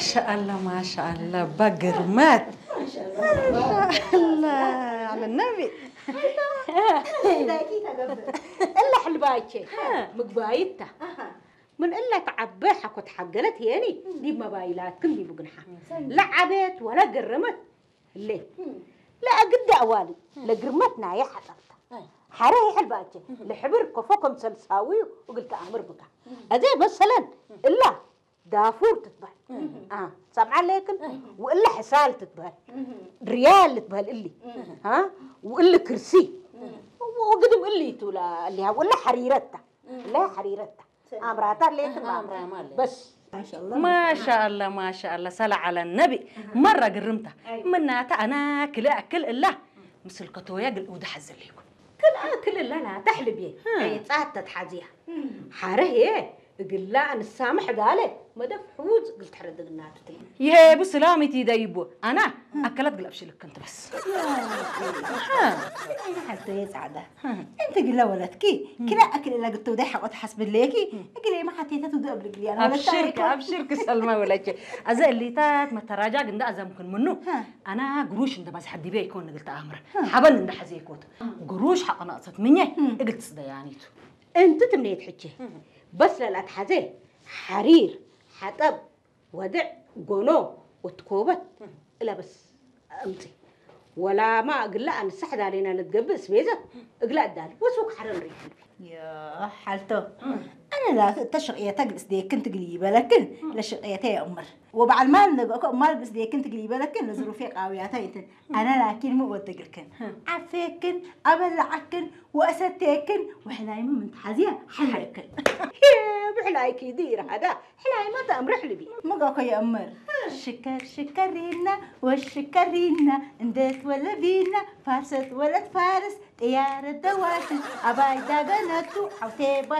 ማሻአላ ማሻአላ፣ ባግርመት። ማሻአላ፣ አለ ነቢ። እላ ሕልባቼ ምግባይታ ምን እላ ተዓበ ሓኮት ሓገለት የኒ ዲብ መባይላትክን ዲቡ ግንሓ ለዓቤት ወላ ገረመት እሌ ለአግዳ እዋሊ ለግርመት ናየ ሓጠርታ ሓረ ይሕልባቼ ለሕብር ኮፎ ከም ሰልሳዊዩ እግል ተአምር ብካ። አዜ መሰለን እላ ዳፉር ትትበሃል። ሰምዓ ኣለየክን? ወእለ ሕሳል ትትበሃል። ሪያል ትበሃል እሊ። ወእለ ክርሲ። ወግድም እሊ ትብላ እሊሃ ወእለ ሓሪረታ። እለ ሓሪረታ። ኣምራታ ኣለየክን? በስ ማሻአላ ማሻአላ ሰላ ዓላ ነቢ። መራ ግርምታ ምናታ ኣና ክልእ ኣክል እላ ምስል ከተወያ ግል እውዳ ሓዘለይኩ። ክልኣ ክልላ ናታ ሕልብየ ጻት ተትሓዝያ ሓረህየ እግላ ንሳምሕ ጋለ መደፍ ሕዉዝ እግል ትሕረድ እግናትትይ። ይሄቡ ስላም እቲ ደይቦ ኣና ኣከላት ግላብ ሽልክን ትበስ። ሓልተየ ጻዕዳ እንቲ ግላ ወለትኪ ክላ ኣክል እላ ግተው ዳይ ሓቆት ሓስብለየኪ እግለይ መሓቴተ ትዱ እብል ግልያ ወለታ ኣብሽርክ ኣብሽርክ ሰልማ ወለች። ኣዘ እሊታት መተራጃግ እንዳ ኣዘምክን ምኑ ኣና ግሩሽ እንደ ባዝ ሓዲበ ይኮን ንግል ተኣምረ ሓበን እንደ ሓዘ ይኮት ግሩሽ ሓቀናቅሰት ምኘ እግል ትስደያኒቱ። እንቲ ትምኔት ሕቼ በስ ለላት ሓዘ ሓሪር ሓጠብ ወድዕ ጎኖ ወትኮበት እለበስ እምፂ ወላማ እግላ ኣንሳሕ ዳሌና ልትገብእ ስቤዘ እግላ እዳል ወሱክ ሓረን ሪሕልቢ ሓልቶ ኣነ ላ ተሽቕየተ ግልስ ደየክን ትግል ይበለክን ለሽቕየተ የእምር ወበዓል ማል ነገእኮ ማል ግልስ ደየክን ትግል ይበለክን ለዝሩፌ ቃውያታ ይትን ኣነ ላኪን ሙ ወደግልክን ዓፌክን ኣበላዓክን ወእሰቴክን ወሕላይሙ ምንትሓዝያ ሓለክን ብሕላይኪ ድይር ሃዳ ሕላይማ ተእምርሕ ልቢ መጋኮ የእምር ሽከር ሽከሪና ወሽከሪና እንደት ወለቢና ፋርሰት ወለት ፋርስ ጥያረ ደዋሽን ኣባይ ዳገነቱ ዓውቴ ባሽ